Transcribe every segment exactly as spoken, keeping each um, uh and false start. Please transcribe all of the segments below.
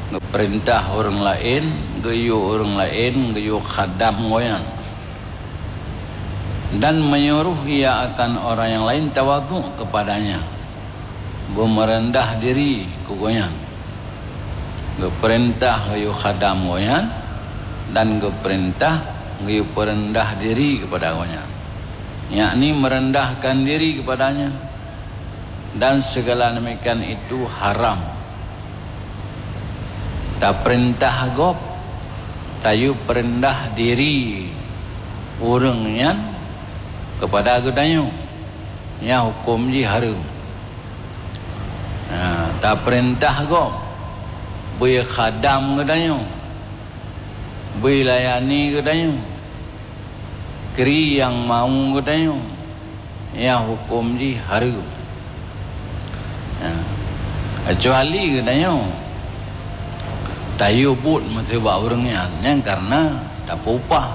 Geupeurintah ureuëng laén, geuyue ureuëng laén geuyue khadam gobnyan, dan menyuruh ia akan orang yang lain tawadhu kepadanya, beumeureundah diri keu gobnyan. Geupeurintah geuyue khadam gobnyan, dan geupeurintah geuyue peureundah diri keupada gobnyan, yakni meurendahkan diri keupadanya, dan segala demikian itu haram. Tapeurintah gob, tayue peureundah diri ureuëng nyan keupada geutanyoe, nyan huköm jih hareuem. Ha, tapeurintah gob, bri khadam geutanyoe, bri layani geutanyoe, kri nyang mau geutanyoe, nyan huköm jih hareuem. Ha, keucuali geutanyoe tayue buet miseue bak ureuëng nyan, nyan kareuna tapeuupah.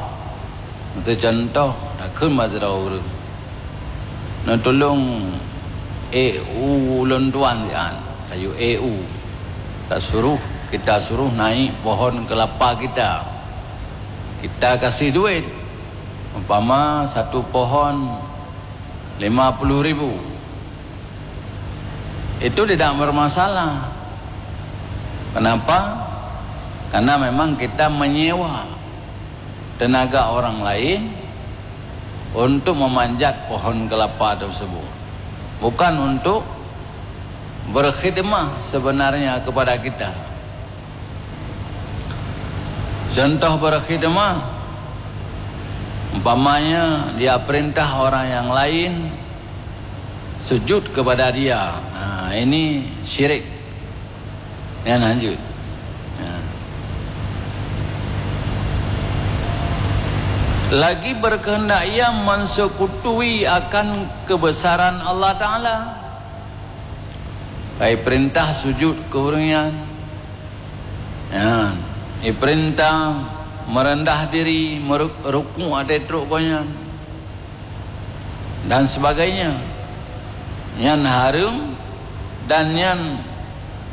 Miseue cuntoh, takheun bak sidroe ureuëng, "Neutulông ék u ulôn tuan sian," tayue ék u. Tasuruh, kita suruh naik pohon kelapa kita. Kita kasih duit. Umpama satu pohon lima puluh ribu. Itu tidak bermasalah. Kenapa? Karena memang kita menyewa tenaga orang lain untuk memanjat pohon kelapa tersebut, bukan untuk berkhidmah sebenarnya kepada kita. Contoh berkhidmah, umpamanya dia perintah orang yang lain sujud kepada dia. Ha, ini syirik. Nyan hanjeuet. Ha. Lagi berkehendak ia mensekutu akan kebesaran Allah Taala. Kai perintah sujud keu ureuëng nyan. Nyan, iperintah meureudah diri, meuru-, ruku' ateueh trok gobnyan, dan sebagainya. Nyan hareuem dan nyan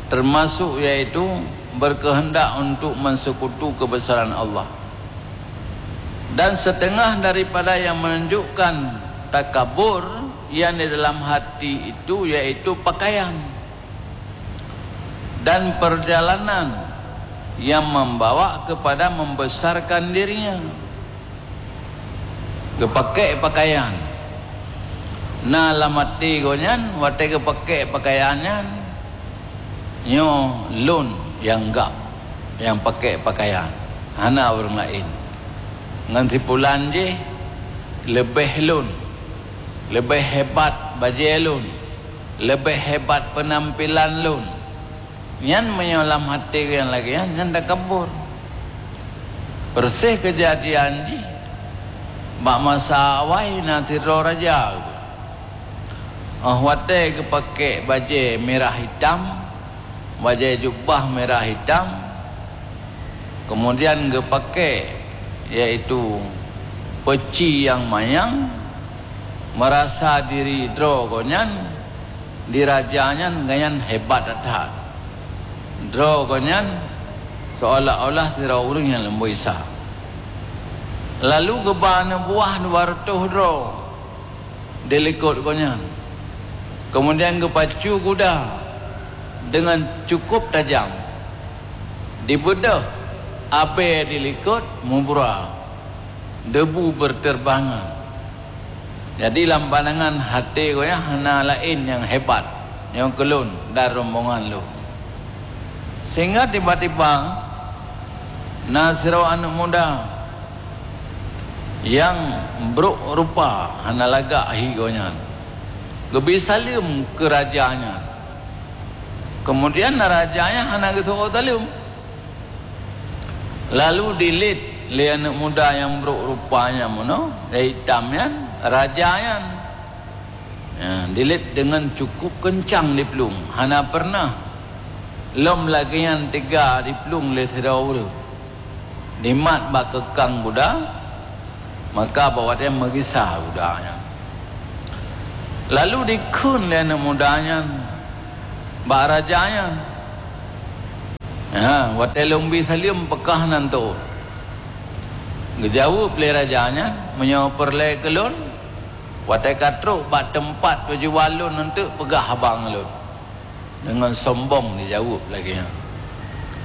teumasok, yaitu berkehendak untuk mensekutu kebesaran Allah. Dan setengah daripada yang menunjukkan takabur yang di dalam hati itu, yaitu pakaian dan perjalanan yang membawa kepada membesarkan dirinya. Geupakék pakaian. Na lam até gobnyan, watée geupakék pakaian nyan, "Nyoe lôn nyang gab, nyang pakék pakaian, hana ureuëng laén. Ngon sipulan jih leubeh lôn, leubeh hebat bajée lôn, leubeh hebat peunampilan lôn." Nyan meunyoe lam até nyang lagée nyan, nyan takabur. Persis keujadian jih bak masa awai na sidroe raja. Óh watée geupakék bajée mirah hitam, bajée jubah mirah hitam, keumudian geupakék, yaitu peuci nyang manyang, meurasa diri droe gobnyan di raja nyan, gobnyan hebat that-that. Droe gobnyan seolah-olah sidroe ureuëng nyang lumboi sa. Lalu geuba aneuk buah dua reutôh droe di likot gobnyan. Keumudian geupacu guda deungon cukup tajam. Dibeudôh abée di likot, mubra, debu beuteurbangan. Jadi lam pandangan até gobnyan hana laén nyang hebat, nyoe keu lôn dan rombongan lôn. Sehingga tiba-tiba na sidroe aneuk muda nyang brok rupa, hana lagak hi gobnyan, geubri saleuem keu raja nyan. Keumudian raja nyan hana geuseuôt saleuem. Lalu dilet lé aneuk muda nyang brok rupa nyan meunoe, nyang itam nyan, raja nyan. Ya, dilet deungon cukup keuncang diplueng, hana peureunah lom lagée nyan teuga diplueng lé sidroe ureuëng. Dimat bak keukang guda, maka bak watée meugisa guda nyan. Lalu dikheun lé aneuk muda nyan bak raja nyan. Ha, watée lôn bi saleuem peugah nan teuôt. Geujaweueb lé raja nyan, "Meunyoe peureulée keu lôn, watée ka trok bak teumpat tujuan lôn eunteuk peugah haba ngon lôn." Deungon sombong jijaweueb lagée nyan.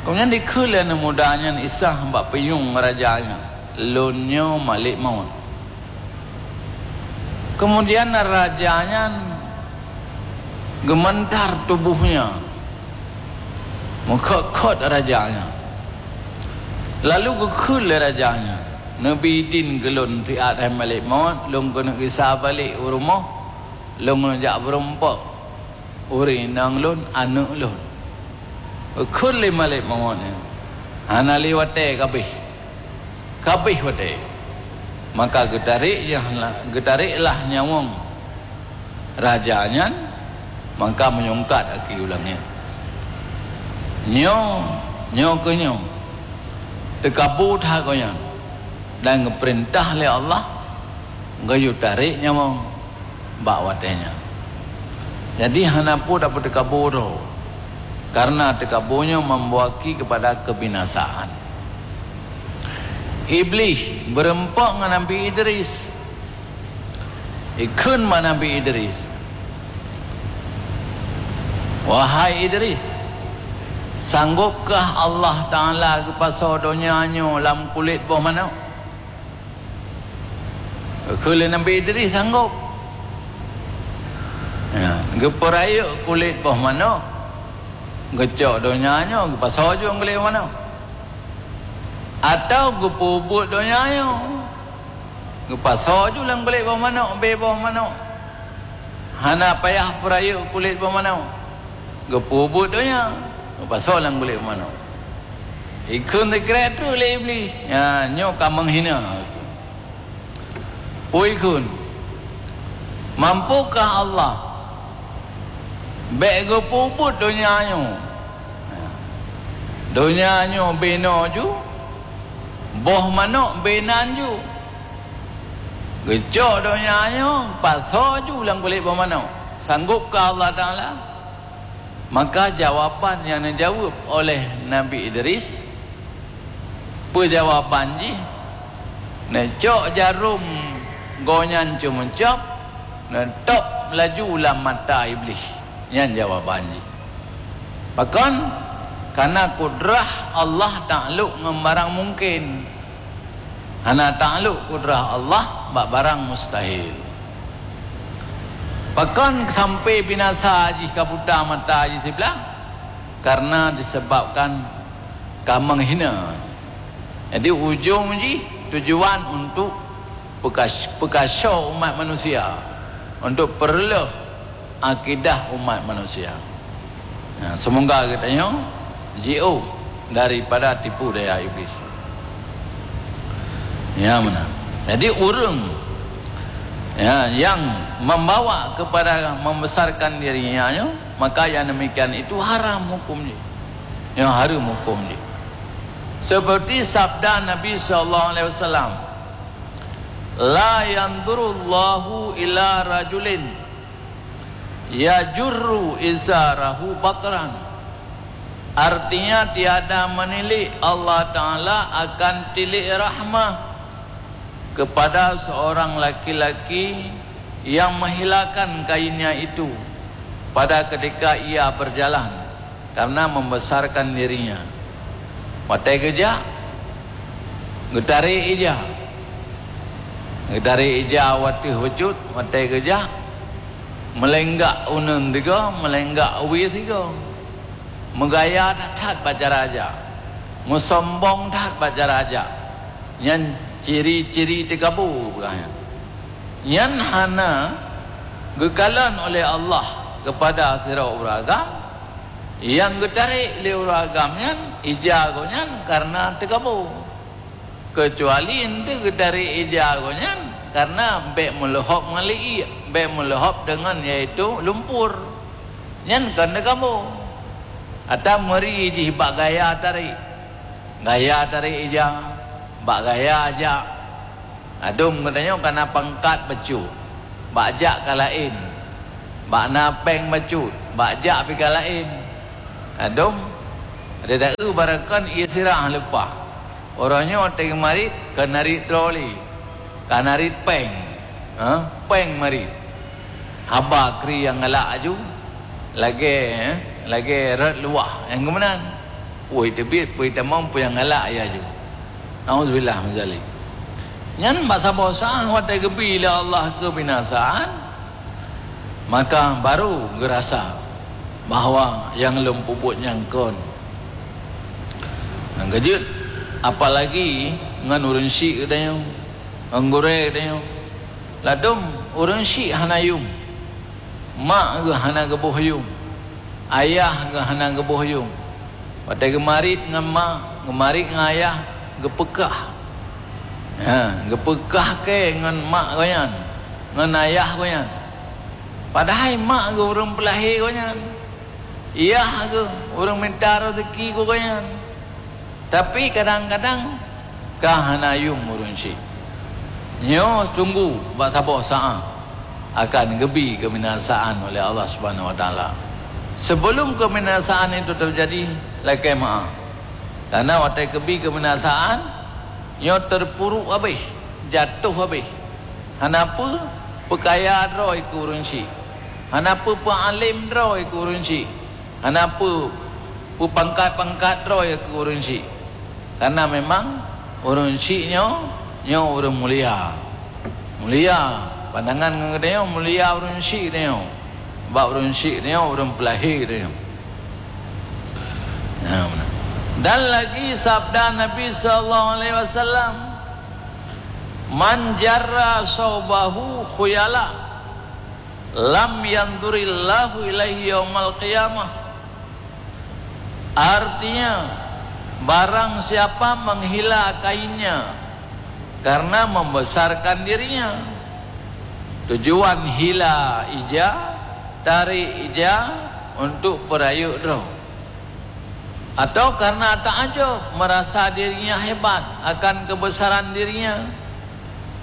Keumudian dikheun lé aneuëk muda nyan Isa bak pinyueng raja nyan, "Lôn nyoe malek mawöt." Keumudian raja nyan geumantar tuboh nyan, meukhot-khot raja nyan. Lalu geukheun lé raja nyan, "Neubi idin keu lôn siat hai malek mawöt, lôn keuneuk gisa balek u rumoh, lôn keuneuk jak beureumpok ureuëng inong lôn, aneuëk lôn." Geukheun lé malek mawöt nyan, "Hana lé watée, ka abéh. Ka abéh watée." Maka geutarek, geutareklah nyawöng raja nyan, maka meunyeungkat aki u langét. Nyoe, nyoe keuh nyoe, teukabo that gobnyan dan geupeurintah lé Allah geuyue tarek nyawöng bak watée nyan. Jadi hana peue tapeuteukaboe droe, karena teukaboe nyoe membawa ki keupada keubinasaan. Iblih beureumpok ngon Nabi Idris. Ikheun bak Nabi Idris, "Wahai Idris, sanggopkah Allah Taala geupasoe donya nyoe lam kulét boh manok?" Kheun lé Nabi Idris sanggop. Ya, geupeurayeuk kulét boh manok, geucok donya nyoe, geupasoe ju lam kulét boh manok. Atawa geupeubuet donya nyoe, geupasoe ju lam kulét boh manok, bé boh manok. Hana payah peurayeuk kulét boh manok. Geupeubuet donya, geupasoe lam kulét boh manok. Ikheun sikrék treuk lé Iblih, "Nyan, nyoe ka meuhina." Peue ikheun, "Mampukah Allah bék geupeubuet donya nyoe? Donya nyoe bé noe ju, boh manok bé nan ju. Geucok donya nyoe, pasoe ju lam kulét boh manok. Sanggopkah Allah Taala?" Maka jawaban nyang neujaweueb oleh Nabi Idris, peue jawaban jih? Neucok jarôm gobnyan ceumeucab, neutôb laju lam mata Iblih. Nyan jawaban jih. Pakon? Karena kudrah Allah taklok ngon barang mungken. Hana taklok kudrah Allah bak barang mustahil. Pakon sampai binasa jih ka buta mata jih siblah? Karena disebabkan ka meuhina. Jadi, ujong jih tujuan untuk peukas-, peukaso umat manusia, untuk peureuloh akidah umat manusia. Nah, semoga geutanyoe jiôh daripada tipu daya Iblis. Ya, meunan. Jadi, ureuëng, ya, yang membawa kepada membesarkan dirinya, ya, maka yang demikian itu haram hukum jih. Ya, haram hukum jih. Seperti sabda Nabi sallallahu alaihi wasallam, "La yanzurullahu ila rajulin yajurru izarahu batran." Artinya, tiada menilik Allah Taala akan tilik rahmah kepada seorang laki-laki yang menghilangkan kainnya itu pada ketika ia berjalan karena membesarkan dirinya. Watée geujak, geutarek ija. Geutarek ija watée bacut, watée geujak, meulenggak uneun tiga, meulenggak wie tiga. Meugaya that-that bak cara jak. Meusombong that bak cara jak. Nyan ciri-ciri teukabo peugah nyan. Nyan hana geukalon oleh Allah kepada sidroe ureuëng agam, nyang geutarek lé ureuëng agam nyan ija gobnyan kareuna teukabo. Keucuali eunteuk geutarek ija gobnyan kareuna bék meuleuhop ngon liek, bék meuleuhop deungon, yaitu lumpur. Nyan kon teukabo. Atawa meuri jih bak gaya tarek. Gaya tarek ija, bak gaya jak. Adum geutanyoe ka na pangkat bacut, bak jak ka laén. Bak na péng bacut, bak jak pih ka laén. Adum, Ada taeu barangkon ié sirah leupah. Uroe nyoe watée geumarit, ka narit droe lé. Ka narit péng. Ha? Péng marit. Haba kri nyang galak aju, lagée, eh, lagée rot luwah nyang geuh meunan. Pui teubiet, pui tamong, pui nyang galak ya aju. Nauzubillah min zalik. Nyan bak saboh saát watée geubi lé Allah keubinasaan, maka baru geurasa bahwa nyang lôn peubuet nyan kon. Nyang keujeuet, apalagi ngon ureuëng syik geutanyoe, ngon gurée geutanyoe. Ladôm ureuëng syik hana yuem. Mak geuh hana geuboh yuem. Ayah geuh hana geuboh yuem. Watée geumarit ngon mak, geumarit ngon ayah, geupeukah. Ha, geupeukah kée ngon mak gobnyan, ngon ayah gobnyan. Padahai mak geuh ureuëng peulahé gobnyan. Yah geuh ureuëng mita rezeki keu gobnyan. Tapi kadang-kadang ka hana yuem ureuëng syik. Nyoe tunggu bak saboh saát akan geubi keubinasaan oleh Allah Subhanahu Wa Taala. Sebelum keubinasaan itu terjadi, lakée meuáh. Karena watée geubi keubinasaan, nyoe teupuruk habéh, jatoh habéh. Hana peue peukaya droe keu ureuëng syik. Hana peue peualém droe keu ureuëng syik. Hana peu-, peupangkat-pangkat droe keu ureuëng syik. Karena memang ureuëng syik nyoe, nyoe ureuëng mulia. Mulia, pandangan ngon geutanyoe mulia ureuëng syik geutanyoe. Bak ureuëng syik geutanyoe ureuëng peulahé geutanyoe. Nah, beuna. Dan lagi sabda Nabi sallallahu alaihi wasallam, "Man jarra saubahu khuyala, lam yanzurillahu ilaihi yaumal qiyamah." Artinya, barang siapa menghila kainnya karena membesarkan dirinya. Tujuan hila ija, tarik ija untuk peurayeuk droe. Atau karena takjub merasa dirinya hebat akan kebesaran dirinya.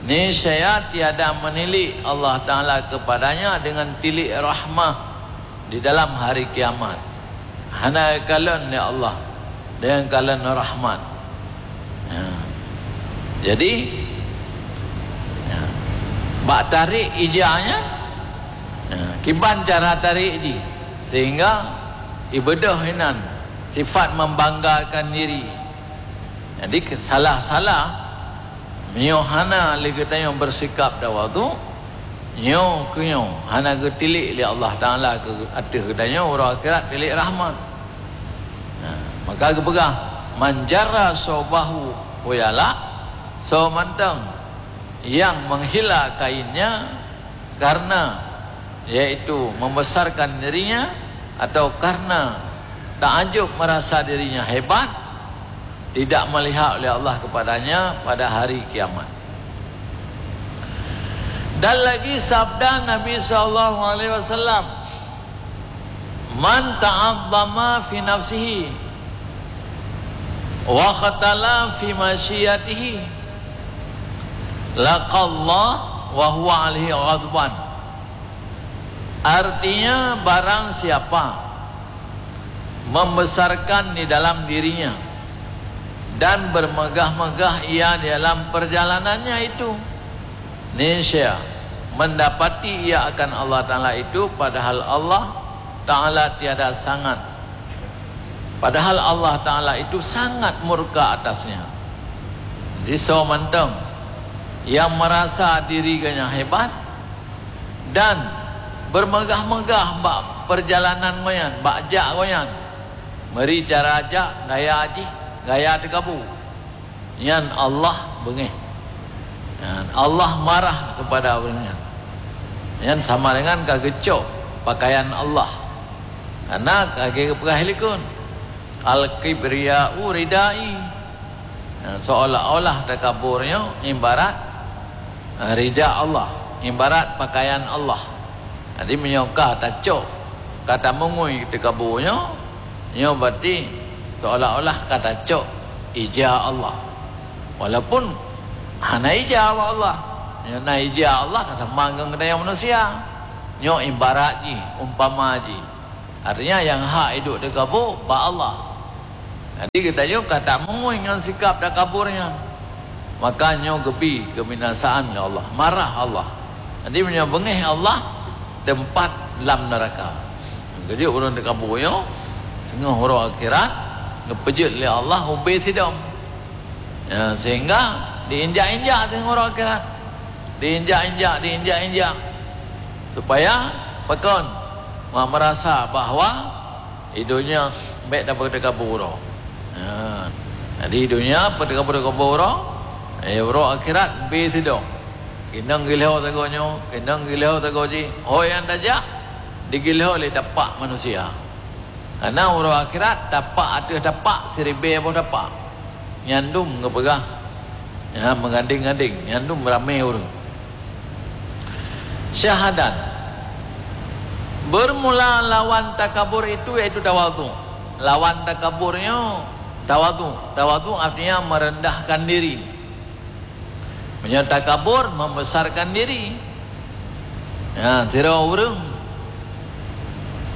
Niscaya tiada menilik Allah Taala kepadanya dengan tilik rahmah di dalam hari kiamat. Hana kalon lé Allah dengan kalon rahmat. Ya. Jadi, ya, bak tarik ija nyan, ya, kiban cara tarik jih sehingga ibeudôh inan sifat membanggakan diri. Jadi, ke-, salah-salah, meunyoe hana lé geutanyoe beusikap tawadhu, nyoe keu nyoe hana geutilik lé Allah Taala keu ateueh geutanyoe uroe akhirat tilik rahmat. Nah, maka geupeugah, "Man jarra saubahu khuyala," soe mantong nyang meuhila kainnya karena, yaitu membesarkan dirinya atau karena takjub merasa dirinya hebat, tidak melihat oleh Allah kepadanya pada hari kiamat. Dan lagi sabda Nabi sallallahu alaihi wasallam, "Man ta'azzama fi nafsihi wa khatala fi masyiyatihi, laqallah wa huwa alaihi ghadban." Artinya, barang siapa membesarkan di dalam dirinya dan bermegah-megah ia di dalam perjalanannya itu, niscaya mendapati ia akan Allah Taala itu, padahal Allah Taala tiada sangat, padahal Allah Taala itu sangat murka atasnya. Di soe mantong yang merasa diri ganya hebat, dan bermegah-megah bak perjalanan gobnyan, bak jak gobnyan, meuri cara jak gaya jih, gaya teukabu, nyan Allah beungéh. Nyan Allah marah kepada ureuëng nyan. Nyan sama dengan ka geucok pakaian Allah. Karena ka geupeugah likun, "Al-kibriya'u ridai." Nah, seolah-olah takabur nyoe ibarat, ah, rida Allah, ibarat pakaian Allah. Jadi, meunyoe ka tacok, ka tamongui takabur nyoe, nyoe berarti seolah-olah ka tacok ija Allah. Walaupun hana ija bak Allah. Nyoe na ija Allah ka sama ngon geutanyoe manusia. Nyoe ibarat jih, umpama jih. Artinya, nyang hak iduek takabur bak Allah. Jadi geutanyoe ka tamongoi ngon sikap takabur nyan. Maka nyoe geubi kebinasaan lé Allah, marah Allah. Jadi meunyoe beungéh Allah, teumpat lam neuraka. Keujeuet ureuëng takabur nyoe, singoh uroe akhirat, geupeujeuet lé Allah ubé sidom. Ya, sehingga diinjak-injak singoh uroe akhirat. Diinjak-injak, diinjak-injak. Supaya pakon? Merasa bahwa di donya bék tapeutakabur uroe. Ha. Jadi donya peutakabur-takabur uroe, eh, uroe akhirat bi sidong. Keunong gilho sagoe nyoe, keunong gilho sagoe jih. Ho nyang tajak digilho lé tapak manusia. Karena uroe akhirat tapak ateueh tapak siribée boh tapak. Nyan dum geupeugah, ya, meugadeng-gadeng, nyan dum ramé ureuëng. Syahadat. Bermula lawan takabur itu yaitu tawadhu. Lawan takabur nyoe tawadhu. Tawadhu artinya merendahkan diri. Meunyoe takabur, membesarkan diri. Ya, sidroe ureuëng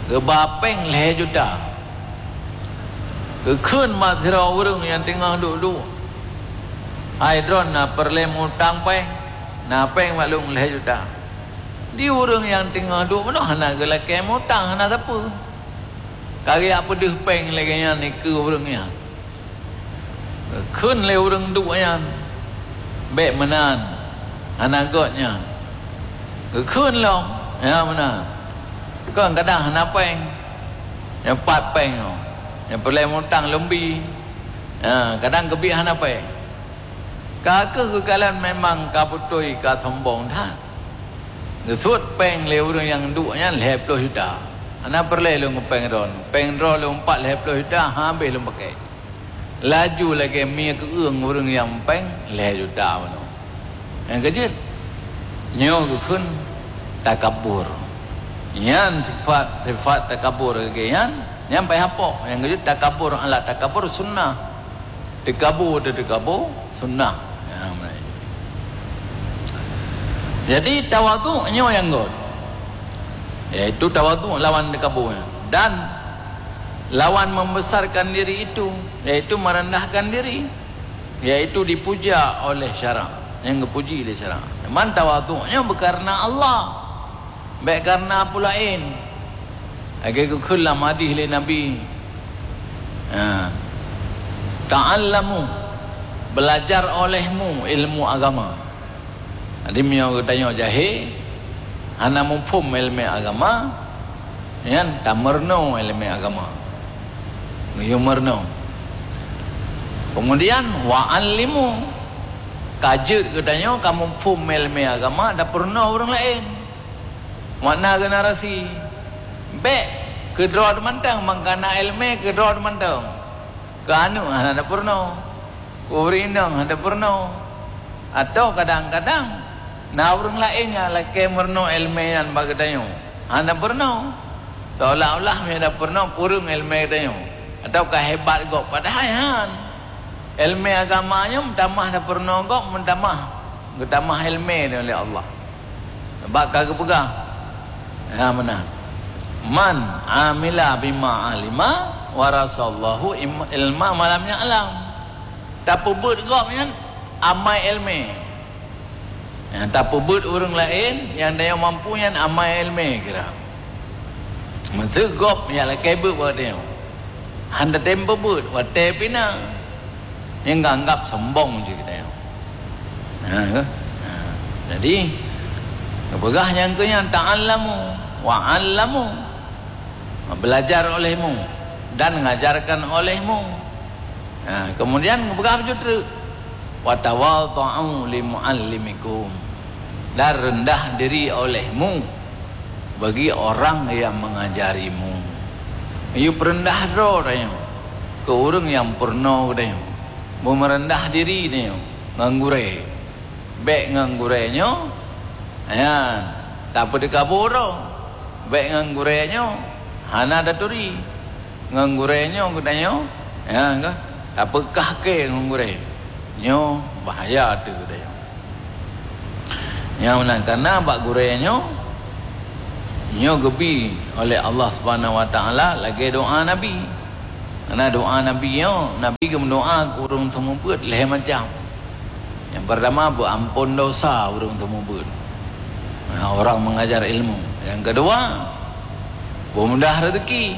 geuba péng lhée juta. Geukheun bak sidroe ureuëng nyang teungoh duek-duek, "Hai droeneuh, na peureulée mutang péng? Na péng bak lôn lhée juta." Di ureuëng nyang teungoh duek bunoe hana geulakée mutang, hana sapeue. Ka geujak peudeuh péng lagée nyan dikeue ureuëng nyan. Geukheun lé ureuëng duek nyan, "Bék meunan, hana göt nyan." Geukheun lom, "Ya meunan." Kon kadang hana péng. Nyang pat péng nyoe, nyang peureulée mutang lom bi. Ha, kadang keubiet hana péng. Ka kheueh geukalon memang ka beutôi ka sombong that. Geusuet péng lé ureuëng nyang duek nyan lhée ploh juta. "Hana peureulée lôn péng droen. Péng droe lôn pat lhée ploh juta, habéh lôn pakai." Laju lagée mie keueung ureuëng nyang péng lhée juta bunoe. Nyang keujeuet, nyoe geukheun takabur. Nyan sifat, sifat takabur lagée nyan, nyan payah pok. Nyang keujeuet takabur ala takabur sunnah. Takabur ateueh takabur sunnah. Ya, mulai. Jadi tawadhu nyoe nyang göt. Yaitu tawadhu lawan takabur. Dan lawan membesarkan diri itu, yaitu merendahkan diri, yaitu dipuja oleh syarak, nyang geupuji lé syarak. Man tawadhu nyoe beukareuna Allah, bék kareuna peue laén. Lagée geukheun lam hadih lé Nabi, ha, "Ta'allamu, belajar olehmu ilmu agama." Jadi meunyoe geutanyoe jahé, hana muphom iéleumé agama, nyan tameurunoe iéleumé agama. Geuyue meurunoe. Keumudian, "Wa 'allimu", ka jeuet geutanyoe ka muphom iéleumé agama, tapeurunoe ureuëng laén. Makna generasi. Bék keudroe teumantong, mangkana iéleumé keudroe teumantong. Keu aneuëk hana tapeurunoe. Keu ureuëng inong hana tapeurunoe. Atawa kadang-kadang na ureuëng laén nyang lakée meurunoe iéleumé nyan bak geutanyoe. Hana peurunoe. Seolah-olah meunyoe tapeurunoe kureueng iéleumé geutanyoe. Atawa ka hebat gob, padahai han. Iéleumé agama nyoe meutamah tapeurunoe gob, meutamah geutamah iéleumé lé Allah. Bak ka geupeugah, ya meunan, "Man 'amila bima 'alima, warasallahu im-, ilma ma lam ya'lam." Tapeubeuet gob nyan amai iéleumé. Nyang tapeubeuet ureuëng laén nyang tanyoe mampu nyan amai iéleumé kira. Meuseu gob nyang lakée beuet bak tanyoe. Hana tem peubeuet watée pih na. Nyang geuanggab sombong cit geutanyoe. Ha, ke? Ha. Jadi, geupeugah nyang keu nyan, "Ta'allamu wa 'allamu." Belajar olehmu dan ngajarkan olehmu. Ha, kemudian geupeugah bacut treuk, "Wa tawadha'u li mu'allimikum." Dan rendah diri olehmu bagi orang yang mengajarimu. Yue peureundah droe tanyoe keu ureuëng nyang peurunoe geutanyoe. Beumeureundah diri tanyoe ngon gurée. Bék ngon gurée nyoe, nyan, tapeutakabur droe. Bék ngon gurée nyoe, hana taturi. Ngon gurée nyoe geutanyoe, nyan, ka, tapeukah kée ngon gurée. Nyoe bahaya ateueh geutanyoe. Nyang meunan kana bak gurée nyoe, nyoe geubi oleh Allah Subhanahu wa Taala lagée doá Nabi. Karena doa Nabi nyoe, Nabi geumeudoa keu ureuëng seumeubeuet lhée macam. Yang pertama, beuampon dosa ureuëng seumeubeuet. Nah, orang mengajar ilmu. Yang kedua, beumudah rezeki.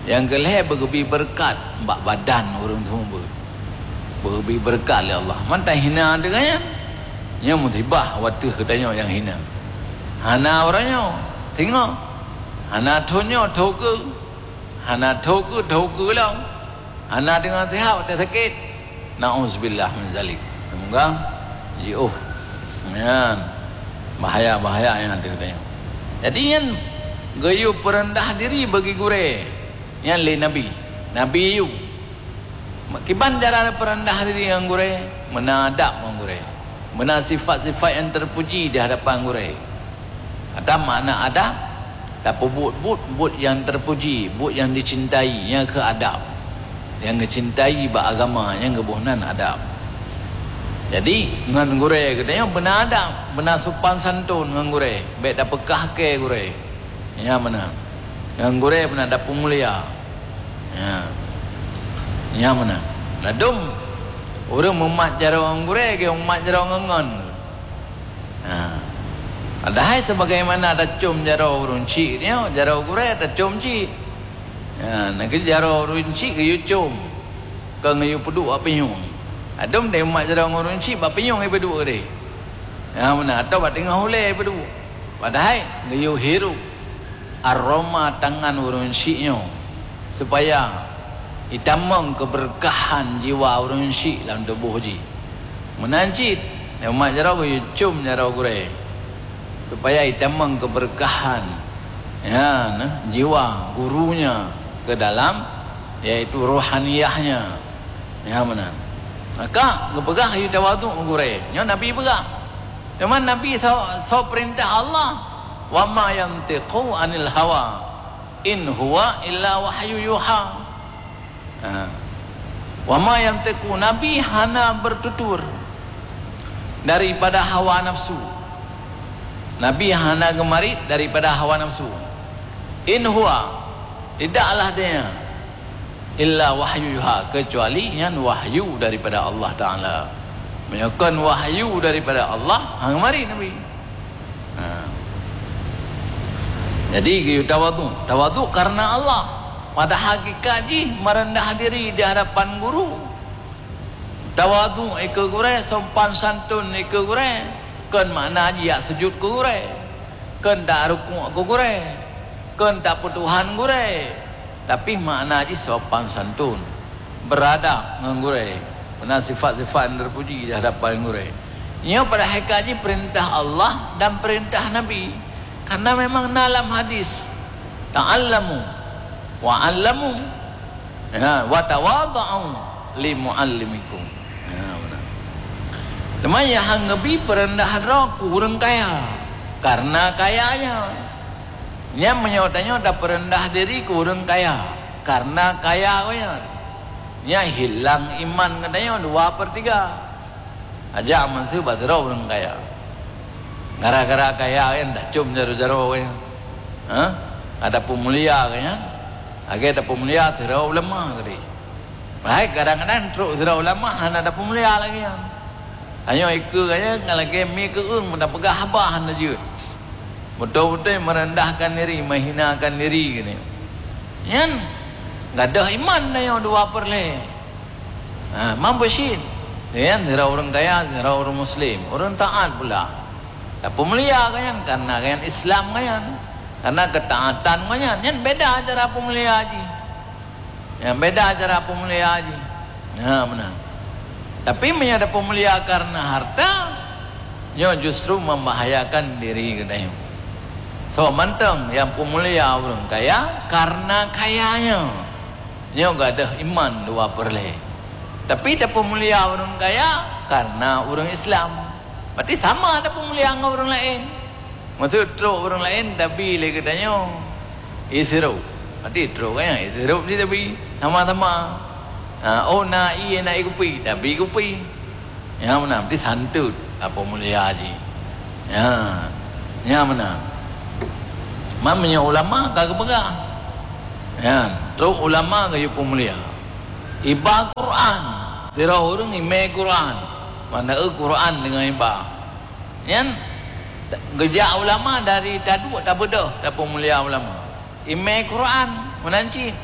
Yang keulhée, beugeubri beureukat bak badan ureuëng seumeubeuet. Beugeubri beureukat lé Allah. Mantong hina deungon nyan. Nyoe musibah wateuh geutanyoe nyang hina. Hana uroe nyoe, singoh. Hana thon nyoe, thon keue. Hana thon keue, thon keue lom. Hana deungon seuhat watée sakét. Na'uzubillah min zalik. Semoga jiôh. Nyan. Bahaya-bahaya nyang ada geutanyoe. Jadi nyan geuyue peureundah diri bagi gurée. Nyan lé Nabi. Nabi yue. Kiban cara peureundah diri ngon gurée, meunan adab ngon gurée. Meunan sifat-sifat nyang terpuji di hadapan gurée. Adab makna adab, tapeubuet buet, buet nyang terpuji, buet nyang dicintai, nyang keu adab. Nyang geucintai bak agama, nyang geuboh nan adab. Jadi, ngon gurée geutanyoe beuna adab, beuna sopan santun ngon gurée, bék tapeukah kée gurée. Nyan meunan. Ngon gurée beuna tapeumulia. Ya. Nyan meunan. Ladôm ureuëng mumat jaroe ngon gurée, geumat jaroe ngon ngon. Ha. Padahai sebagaimana tacôm jaroe ureuëng chik nyoe, jaroe gurée tacôm chik. Ha, na kheueh jaroe ureuëng chik geuyue com, kon geuyue peuduek bak pinyueng. Ladôm deh umat jaroe ngon ureuëng chik bak pinyueng ipeuduek deh. Ha, meunan, atawa bak teungoh ulée ipeuduek. Padahai geuyue hirup aroma tangan ureuëng chik nyoe, supaya itamong keubeureukahan jiwa ureuëng chik lam tuboh jih. Meunan cit, umat jaroe geuyue com jaroe gurée, supaya itamong keubeureukahan, ya, nah, jiwa gurunya ke dalam, yaitu rohaniyahnya. Ya, meunan. Maka geupeugah geuyue tawadhu gurée. Nyoe Nabi peugah. Teuma Nabi soe, soe peurintah Allah, "Wa ma yantiqu anil hawa, in huwa illa wahyu yuha." Ha. "Wa ma yantiqu," Nabi hana bertutur daripada hawa nafsu. Nabi hana geumarit daripada hawa nafsu. "In huwa," tidaklah dia, "illa wahyu yuha," kecuali nyan wahyu daripada Allah Taala. Meunyoe kon wahyu daripada Allah, hana mari Nabi. Ha. Jadi geuyue tawadhu. Tawadhu karena Allah. Pada hakikat jih merendah diri di hadapan guru. Tawadhu ikeue gurée, sopan santun ikeue gurée. Kon makna jih jak sujut keu gurée. Kon jak rukuk keu gurée. Kon jak peutuhan gurée. Tapi makna jih sopan santun, beuradab ngon gurée, meunan sifat-sifat nyang teupuji di hadapan gurée. Nyoe pada hakikat jih peurintah Allah dan peurintah Nabi. Karena memang na lam hadis, "Ta'allamu wa 'allamu, ya, wa tawadha'u li mu'allimikum." Ya, meunan. Teuma nyang han geubi peureundah droe keu ureuëng kaya, karena kayanya. Nyan meunyoe tanyoe tapeureundah diri keu ureuëng kaya, karena kaya gobnyan, nyan hilang iman geutanyoe dua per tiga. Aja meusu bak sidroe ureuëng kaya. Gara-gara kaya nyan tacom jaroe-jaroe gobnyan. Ha? Ka tapeumulia gobnyan. Lagée tapeumulia sidroe ulama keudeh. Hai, kadang-kadang trok sidroe ulama hana tapeumulia lagée nyan. Tanyoe ikeue gobnyan ngon lagée mi keueung, meunan peugah haba hana jeuet. Beutôi-beutôi meurendahkan diri, meuhinakan diri geutanyoe. Nyan gadôh iman tanyoe dua per lhée. Ha, mampu cit. Nyan sidroe ureuëng kaya, sidroe ureuëng muslim, ureuëng taát pula. Tapeumulia gobnyan karena gobnyan Islam gobnyan. Karena keutaatan gobnyan, nyan beda cara peumulia jih. Nyang beda cara peumulia jih. Nah, meunan. Tapi meunyoe tapeumulia karena harta, nyoe justru membahayakan diri geutanyoe. Soe mantong nyang peumulia ureuëng kaya karena kayanya, nyoe gadôh iman dua per lhée. Tapi tapeumulia ureuëng kaya karena ureuëng Islam, berarti sama tapeumulia ngon ureuëng laén. Maksud trok ureuëng laén tabi lé geutanyoe, ié sirup. Berarti trok gobnyan ié sirup cit tabi, sama-sama. Ha, oh, na ié, na ié kupi, tabi kupi. Nyang meunan, berarti santun, tapeumulia jih. Ya, nyang meunan. Man meunyoe ulama ka geupeugah. Ya. Trok ulama geuyue peumulia. Iba Quran. Sidroe ureuëng imé Quran. Makna Quran deungon iba. Nyan geujak ulama dari taduek tabeudôh tapeumulia ulama. Imé Quran meunan cit.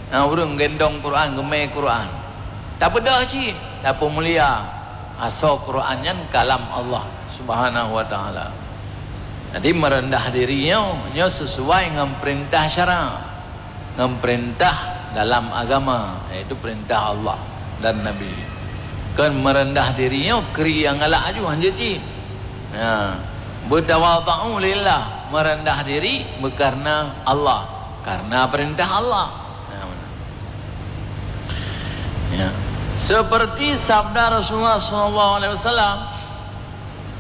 Nah, ureuëng gendong Quran, geumé Quran. Tabeudôh cit, tapeumulia. Asoe Quran nyan kalam Allah Subhanahu wa Taala. Jadi meureundah diri nyoe, nyoe sisuai ngon peurintah syara, ngon peurintah dalam agama, yaitu peurintah Allah dan Nabi. Kon meureundah diri nyoe kri nyang galak aju hanjeuet cit. Ha, beutabadhu lillah, meureundah diri beukareuna Allah, kareuna peurintah Allah. Ha, meunan. Ya. Seperti sabda Rasulullah sallallahu alaihi wasallam,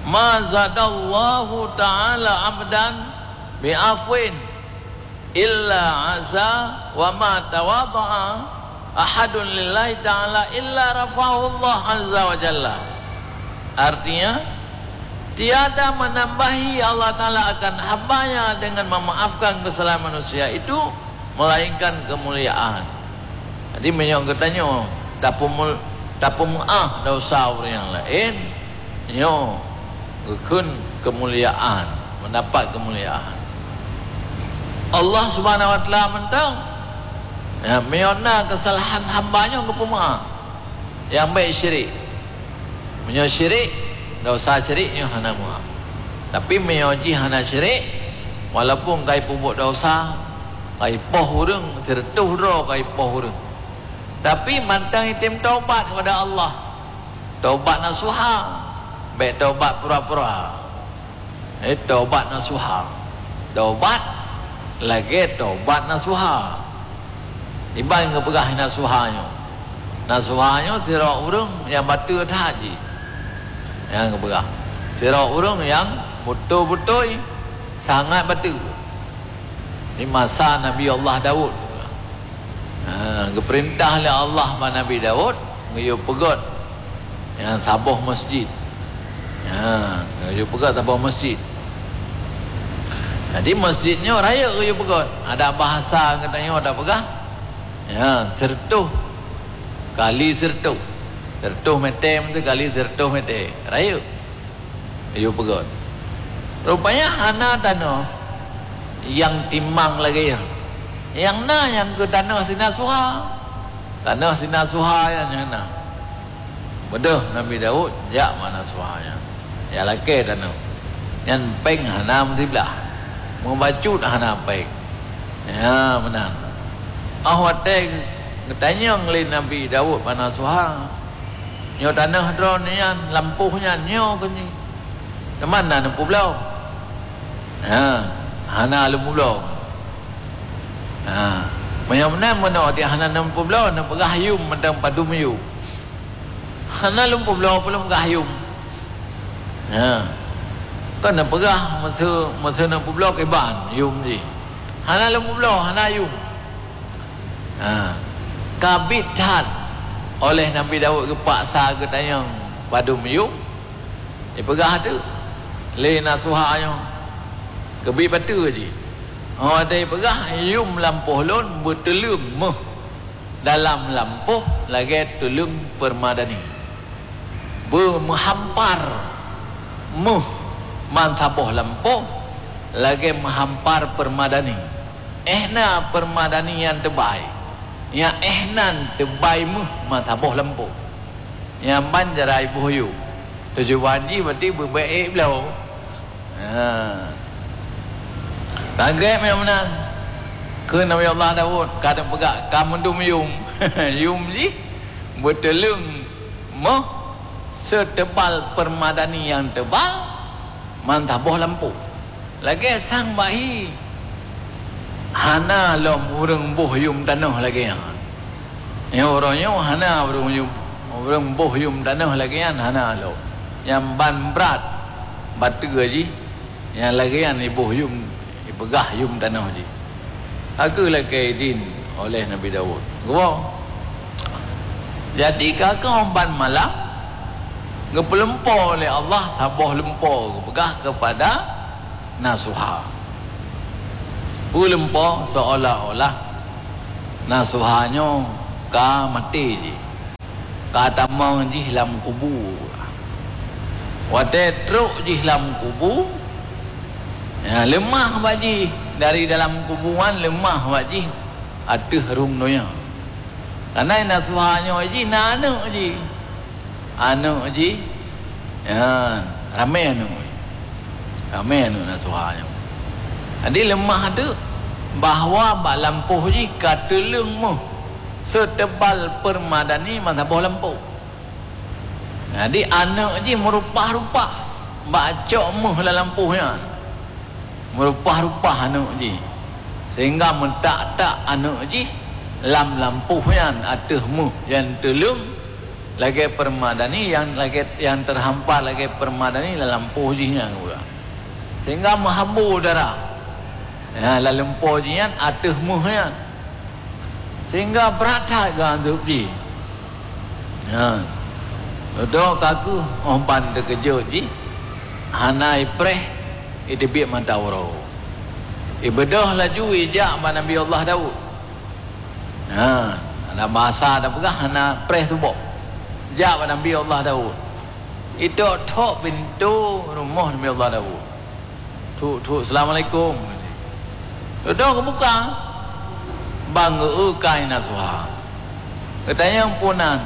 "Ma zadallahu ta'ala 'abdan bi afwin illa 'azza wa ma tawadha'a ahadun lillahi ta'ala illa rafa'ahu Allah azza wa jalla." Artinya, tiada menambahi Allah Ta'ala akan hambanya dengan memaafkan kesalahan manusia itu, melainkan kemuliaan. Jadi, meunyoe geutanyoe tapeumu-, tapeumeu'ah desya ureuëng nyang laén, nyoe geukheun keumuliaan, meudapat keumuliaan. Allah Subhanahu wa Taala mantong, ya, meunyoe na keusalahan hamba nyoe geupeumeu'ah, nyang bék syirik. Meunyoe syirik, desya syirik nyoe hana meu'ah. Tapi meunyoe jih hana syirik, walaupun ka ipeubuet desya, ka ipoh ureuëng, sireutôh droe ka ipoh ureuëng, tapi mantong item taubat kepada Allah. Taubat nasuha, bék taubat pura-pura. Eh, taubat nasuha. Taubat lagée taubat nasuha. Iban geupeugah nasuha nyoe. Nasuha nyoe sidroe ureuëng nyang bateue that jih. Nyang geupeugah. Sidroe ureuëng nyang beutôi-beutôi sangat bateue. Di masa Nabi Allah Daud. Ha, geupeurintah lé Allah bak Nabi Daud, geuyue peugét nyang saboh masjid. Ha, geuyue peugét saboh masjid. Jadi, masjid nyoe rayeuk geuyue peugét. Ada bahasa geutanyoe tapeugah, ya, sireutôh kali sireutôh. Sireutôh mètè, meusti kali sireutôh mètè. Rayeuk. Geuyue peugét. Rupanya hana tanoh nyang timang lagée nyan. Nyang na nyang keu tanoh sinasuha. Tanoh sinasuha nyan nyang na. Beudôh Nabi Daud jak bak nasuha nyan. Jak lakée tanoh. Nyan péng hana meusiblah. Meubacut hana péng. Ya, meunan. Óh watée geutanyong lé Nabi Daud bak nasuha, "Nyoe tanoh droeneuh nyan, lampôh nyan nyoe keuh nyoe. Teuma na neupubloe?" "Ha, hana lôn publoe." "Ha, meunyoe meunan meunoe, di hana neupubloe, neupeugah yum mantong padum yum." "Hana lôn publoe, peue lôn peugah yum." Ha. Kon neupeugah meuseu, meuseu neupubloe kiban yum jih. "Hana lôn publoe, hana yum." Ha. Ka biet that oleh Nabi Daud geupaksa geutanyong padum yum. Ipeugah teuk lé nasuha nyoe. Keubiet bateue jih. Óh watée ipeugah, "Yum lampôh lôn beuteuleueng méuh dalam lampôh lagée teuleueng peuremadani." Beumeuhampar méuh ban saboh lampôh lagée meuhampar peuremadani. Éh na peuremadani nyang teubai, nyang éh nan teubai méuh ban saboh lampôh. Nyang ban jarai boh yum. Tujuan jih berarti beubeuet ék bloe. Ha. Lagée meunan, kheun Nabi Allah Daud, ka neupeugah, ka meudum yum. Yum jih beuteuleueng méuh seutebal peuremadani nyang teubai, ban saboh lampôh. Lagée sang bahi. Hana lom ureuëng boh yum tanoh lagée nyan. Nyoe uroe nyoe hana ureuëng yum, ureuëng boh yum tanoh lagée nyan hana lom. Nyang ban brat bateue jih, nyang lagée nyan iboh yum, ipeugah yum tanoh jih. Ka keuh lakée idin oleh Nabi Daud. Geuwoe. Jadi, ka keuh ban malam, geupeulumpoe lé Allah saboh lumpoe geupeugah keupada nasuha. Peue lumpoe? Seolah-olah Nasuha nyoe ka maté jih, ka tamong jih lam kubu. Watée trok jih lam kubu, ya, leumah bak jih. Dari dalam kubu nyan leumah bak jih ateueh rhueng donya. Kareuna Nasuha nyoe jih na aneuëk jih. Aneuëk jih, ya, ramé aneuëk jih. Ramé aneuëk Nasuha nyoe. Jadi leumah teuk bahwa bak lampôh jih ka teuleueng méuh seutebal peumadani meusaboh lampôh. Jadi aneuëk jih meurupah-rupah bak cok méuh lam lampôh nyan. Meurupah-rupah aneuëk jih, sehingga meutak-tak aneuëk jih lam lampôh nyan ateueh méuh nyang teuleueng lagée peumadani, nyang lagée, nyang teuhampa lagée peumadani lam lampôh jih nyan juga. Sehingga meuhabo darah, ya, lam lampôh jih nyan ateueh méuh nyan. Sehingga brat that geuanzeueb jih. Nyan. Dudoe ka kheueh óh ban teukeujot jih, hana ipreh, iteubiet mata uroe. Ibeudôh laju ijak bak Nabi Allah Daud. Nyan, hana basa tapeugah hana preh tuboh. Jak bak Nabi Allah Daud. Itok-tok pintoe rumoh Nabi Allah Daud. "Thuk, thuk, assalamualaikum." Dudoe geubuka, ban geu-eu kayée Nasuha. Geutanyong, "Peue nan?"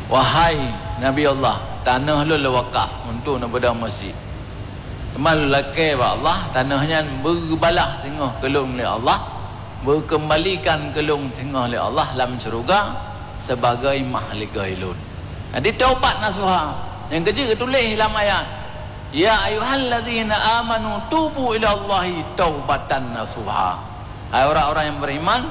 "Wahai Nabi Allah, tanoh lôn lôn wakaf untuk neubeudôh meuseujid. Teuma lôn lakée bak Allah, tanoh nyan beugeubalah singoh keu lôn lé Allah, beukeumalikan keu lôn singoh lé Allah lam syeuruga sibagoe mahligoi lôn." Jadi taubat nasuha. Nyang keujeuet geutuléh lam ayat, "Ya ayyuhallazina amanu tubu ilallahi taubatan nasuha." Hai orang-orang yang beriman,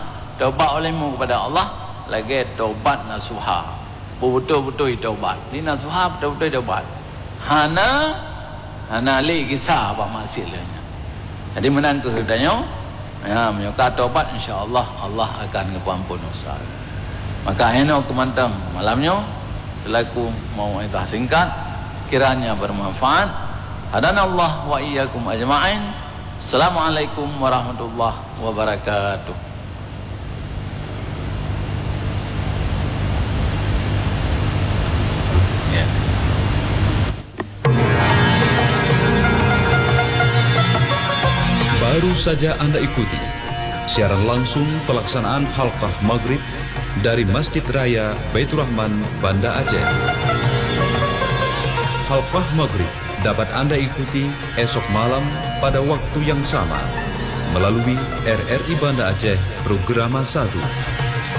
taubat olehmu kepada Allah lagée taubat nasuha. Beutôi-beutôi taubat. Di nasuha beutôi-beutôi taubat. Hana, hana lé gisa bak maksiat lé nyan. Jadi meunan keuh geutanyoe, ya, meunyoe ka taubat, insya Allah, Allah akan geupeuamphon dosa. Maka hinoe keuh mantong malam nyoe, selaku mau'izah singkat, kiranya bermanfaat. Hadanallah wa iyyakum ajma'in. Assalamualaikum warahmatullahi wabarakatuh. Ya. Baru saja Anda ikuti siaran langsung pelaksanaan Halqah Maghrib dari Masjid Raya Baiturrahman, Banda Aceh. Halqah Maghrib dapat Anda ikuti esok malam pada waktu yang sama melalui R R I Banda Aceh Programa satu.